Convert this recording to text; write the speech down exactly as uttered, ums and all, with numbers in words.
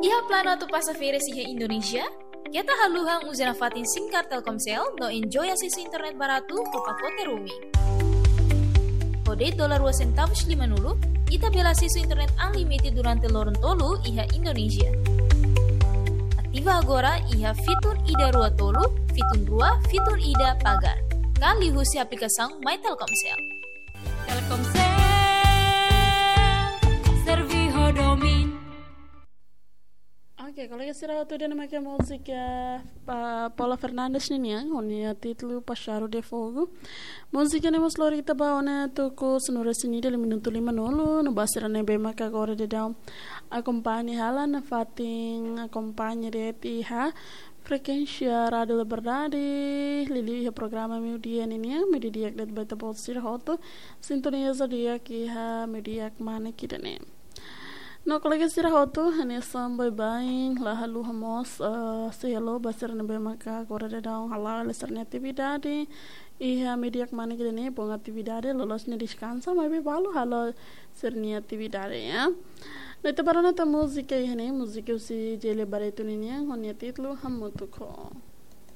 Iha planu atu pasa férias iha Indonézia? Keta haluha uza nafatin SIM card Telkomsel no enjoy asesu internet baratu ho pakote roaming. Ho de'it dolar rua sentavus lima-nulu, ita bele asesu internet unlimited durante loron tolu iha Indonézia. Ativa agora iha fitun ida rua tolu, fitun rua, fitun ida pagar. Ka liuhusi aplikasaun My Telkomsel. Telkomsel, servi ho domin. Oke, kolega sira hotu, ida-ne'e mak múzika, ah, Paula Fernandes ninian, ho nia títulu Páxaru de Fogu. Múzika ne'e mós lori ita ba ona tuku sanulu-resin-ida minutu lima-nulu, no ba sira ne'ebé maka agora daudaun akompaña hela nafatin, akompaña de'it iha frekuénsia Rádio Liberdade, liuliu iha programa meiudia ninian, meiudia di'ak de'it ba ita-boot sira hotu, sintoniza di'ak iha meiudia kmanek ida-ne'e. No kolega sira hotu, hanesan baibain, la haluha mós, eh, sei halo ba sira ne'ebé maka agora daudaun hala'o hela sira-nia atividade iha meiudia kmanek ida-ne'e, bom atividade, loloos ne'e deskansa, maibé balu halo sira-nia atividade, ya. No ita bá rona tan múzika iha ne'e, múzika husi Gély Barreto ninian, ho nia títulu Hamutuk Ho.